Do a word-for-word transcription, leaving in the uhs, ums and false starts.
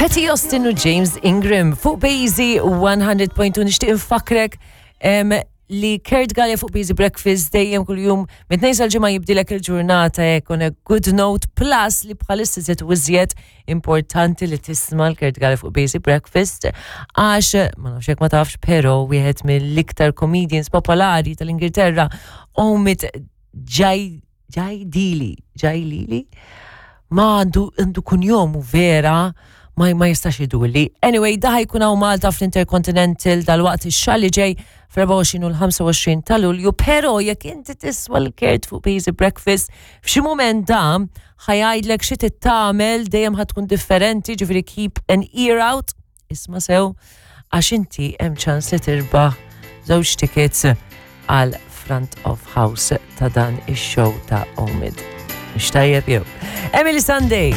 Patti Austin u James Ingram fuq Bejzi one hundred point two. Nixtieq infakrek em, li Kurt Galea fuq Busy Breakfast dejjem kuljum mit-Tnejn sal-Ġimgħa jibdilek il-ġurnata hekk on a good note, plus li bħalissa żied u iżjed importanti li tisma' l-Kurt Galea fuq Busy Breakfast, għax ma nafx jekk ma tafx, pero wieħed mill-iktar comedians popolari tal-Ingilterra, Omid Jai Jaidili Jailili, ma għandu għandu kunjomu vera ma, ma jistax iduli. Anyway, da ħa jkun hawn Malta fl-Intercontinental dal-waqt, ix-xahar li ġej, fl-erbgħa u għoxrin u l-ħamsa u għoxrin ta' Lulju, pero jekk inti tisma' l-Kurt fuq Busy Breakfast, f'xi moment da ħa jgħidlek xi tagħmel, dejjem ħa tkun differenti, ġifieri keep an ear out, isma' sew, għax inti hemm ċans li tirbaħ żewġ tickets għal front of house ta' dan ix-show ta' Omid. Mhux tajjeb jew? Emeli Sandé.